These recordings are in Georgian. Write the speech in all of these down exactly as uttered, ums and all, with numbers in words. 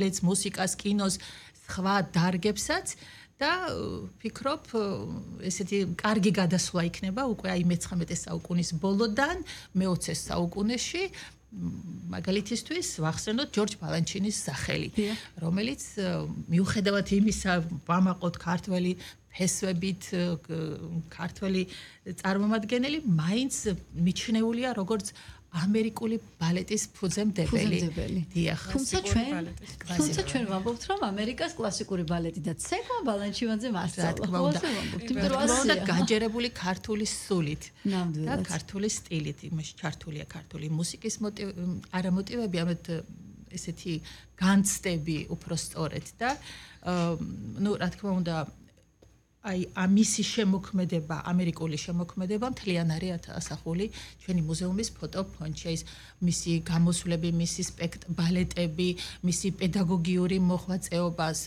ლეც მუსიკას, კინოს, სხვა დარგებსაც და ფიქრობ, ესეთი კარგი გადასვლა იქნება უკვე აი მეცხრამეტე საუკუნის ბოლოდან მეოცე საუკუნეში. მაგალითისთვის ვახსენოთ ჯორჯ ბალანჩინის სახელი, რომელიც მიუხედავად იმისა, ვამაყოთ ქართველი ფესვებით, ქართველი წარმომადგენელი, მაინც მიჩნეულია როგორც ამერიკული ბალეტის ფუძემდებელი. დიახ. თუმცა ჩვენ, თუმცა ჩვენ ვამბობთ, რომ ამერიკას კლასიკური ბალეტი და ცეკვა ბალანჩივანძემ ასწავლა. რა თქმა უნდა, გაჯერებული ქართული სულით და ქართული სტილით, იმაში ჩართულია ქართული მუსიკის არა მოტივები, ამეთ ესეთი განცდები უფრო სწორედ და ნუ რა თქმა უნდა აი ამისი შემოქმედება, ამერიკული შემოქმედება მთლიანარი ასახული ჩვენი მუზეუმის ფოტოფონდში, ის მისი გამოსვლები, მისი სპექტ ბალეტები, მისი პედაგოგიური მოღვაწეობას,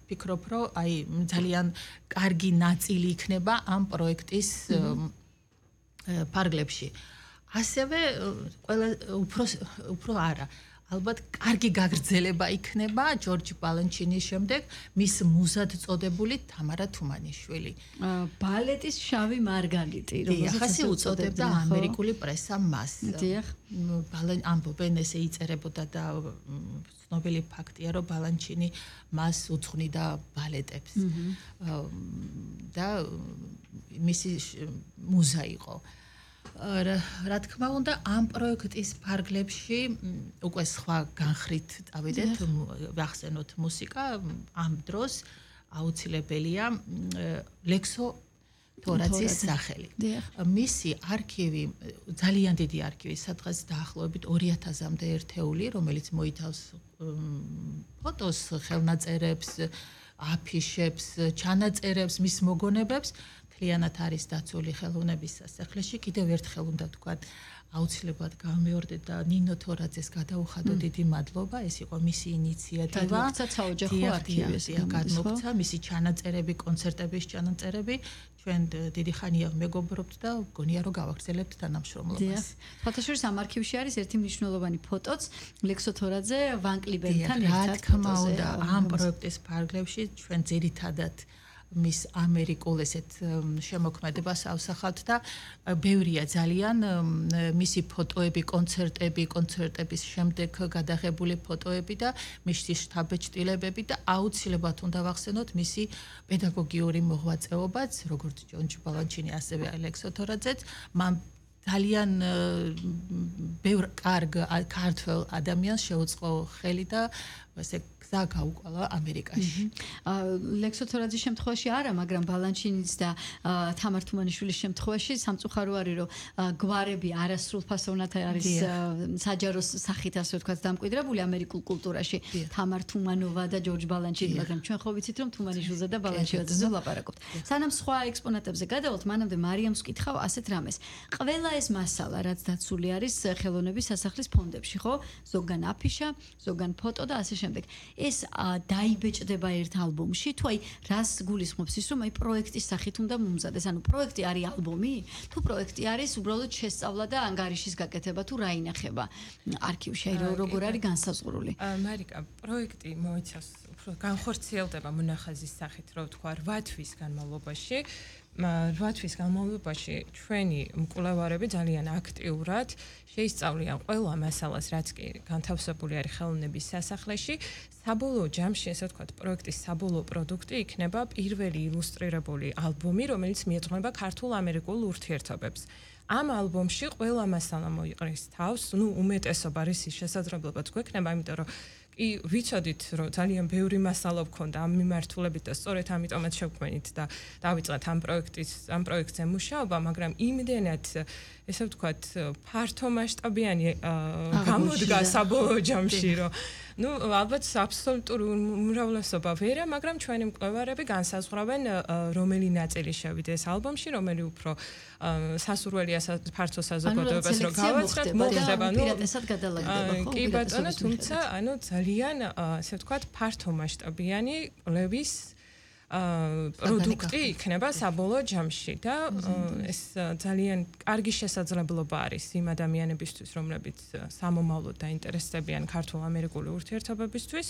ფიქრობ, რომ აი ძალიან კარგი ნაწილი იქნება ამ პროექტის ფარგლებში. ასევე ყველა უფრო უფრო არა ალბათ კარგი გაგრძელება იქნება ჯორჯ ბალანჩინის შემდეგ მის მუზად წოდებული თამარა თუმანიშვილი. ბალეტის შავი მარგალიტი, რომელსაც ასე უწოდებდა ამერიკული პრესა მას. დიახ. ამბობენ ესე იწერებოდა და ცნობილი ფაქტია, რომ ბალანჩინი მას უძღვნიდა ბალეტებს. და მისი მუზა იყო. რა თქმა უნდა, ამ პროექტის ფარგლებში უკვე სხვა განხრით წავიდეთ, ვახსენოთ მუსიკა, ამ დროს აუცილებელია ლექსო თორაძის სახელი. მისი არქივი, ძალიან დიდი არქივი, სადღაც დაახლოებით ორი ათასამდე ერთეული, რომელიც მოითავს ფოტოს, ხელნაწერებს, აფიშებს, ჩანაწერებს, მის მოგონებებს, მთლიანად არის დაცული ხელოვნების სასახლეში. კიდევ ერთხელ უნდა თქვა, აუცილებლად გამეორდეთ და ნინო თორაძეს გადაუხადო დიდი მადლობა, ეს იყო მისი ინიციატივა. გადმოგვცა საოჯახო არქივი, გადმოგვცა მისი ჩანაწერები, კონცერტების ჩანაწერები. ჩვენ დიდი ხანია მეგობრობთ და გონია რომ გავაგრძელებთ თანამშრომლობას. ფოტოშორის ამ არქივში არის ერთი მნიშვნელოვანი ფოტოც, ლექსო თორაძე ვან კლიბენთან ერთად. რა თქმა უნდა, ამ პროექტის ფარგლებში ჩვენ ძირითადად მის ამერიკულ ესეთ შემოქმედებას ავსახავთ და ბევრია ძალიან მისი ფოტოები, კონცერტები, კონცერტების შემდეგ გადაღებული ფოტოები და მისი შთაბეჭდილებები და აუცილებლად უნდა ვახსენოთ მისი პედაგოგიური მოღვაწეობაც, როგორც ჯორჯ ბალანჩინი, ასევე ალექსო თორაძეც, მან ძალიან ბევრ კარგ ქართველ ადამიანს შეუწყო ხელი და ესე გზა გაუკვალა ამერიკაში. ლექსო თორაძის შემთხვევაში არა, მაგრამ ბალანჩინის და თამარ თუმანიშვილის შემთხვევაში სამწუხარო არის, რომ გვარები არასრულფასოვნად არის საჯარო სახით ასე ვთქვათ დამკვიდრებული ამერიკულ კულტურაში. თამარ თუმანოვა და ჯორჯ ბალანჩინი, მაგრამ ჩვენ ხო ვიცით, რომ თუმანიშვილზე და ბალანჩინზე ვლაპარაკობთ. სანამ სხვა ექსპონატებზე გადავალთ, მანამდე მარიამს ვკითხავ ასეთ რამეს. ყველა ეს მასალა, რაც დაცული არის ხელოვნების სასახლის ფონდებში, ხო? ზოგან აფიშა, ზოგან ფოტო და ასე შემდეგ. ეს დაიბეჭდება ერთ ალბომში, თუ აი რას გულისხმობს ის, რომ აი პროექტის სახით უნდა მომზადეს, ანუ პროექტი არის ალბომი, თუ პროექტი არის უბრალოდ შესწავლა და ანგარიშის გაკეთება, თუ რა ინახება არქივში, აი როგორ არის განსაზღვრული. მარიკა, პროექტი მოიცავს უფრო განხორციელდება მონახაზის სახით, რო ვთქვა, რვა თვის განმავლობაში. რვა თვის განმავლობაში ჩვენი მკვლევარები ძალიან აქტიურად შეისწავლიან ყველა მასალას, რაც კი განთავსებული არის ხელოვნების სასახლეში. საბოლოო ჯამში, ესე ვთქვათ, პროექტის საბოლოო პროდუქტი იქნება პირველი ილუსტრირებული ალბომი, რომელიც მიეძღვნება ქართულ-ამერიკულ ურთიერთობებს. ამ ალბომში ყველა მასალა მოიყრის თავს, ну, უმეტესობა რისი შესაძლებლობა გვექნება, იმიტომ რომ კი ვიცოდით, რომ ძალიან ბევრი მასალა გქონდა ამ მიმართულებით და სწორედ ამიტომაც შევქმნით და დავიწყეთ ამ პროექტის, ამ პროექტზე მუშაობა, მაგრამ იმდენად, ესე ვთქვათ, ფართო მასშტაბიანი გამოდგა საბოლოო ჯამში, რომ ну, ალბათ აბსოლუტური უმრავლესობა ვერა, მაგრამ ჩვენი მკვლევარები განსაზღვრავენ, რომელი ნაწილი შევიდეს ალბომში, რომელი უფრო სასურველია ფართო საზოგადოებას რომ გავაცხრათ, მოხდება, ну, პირატესად გადალაგდება, ხო? კი ბატონო, თუმცა, ანუ ძალიან, ასე ვთქვათ, ფართო მასშტაბიანი კვლევის პროდუქტი იქნება საბოლოო ჯამში და ეს ძალიან კარგი შესაძლებლობა არის იმ ადამიანებისთვის, რომლებიც სამომავლოდ დაინტერესდებიან ქართულ-ამერიკული ურთიერთობებისთვის,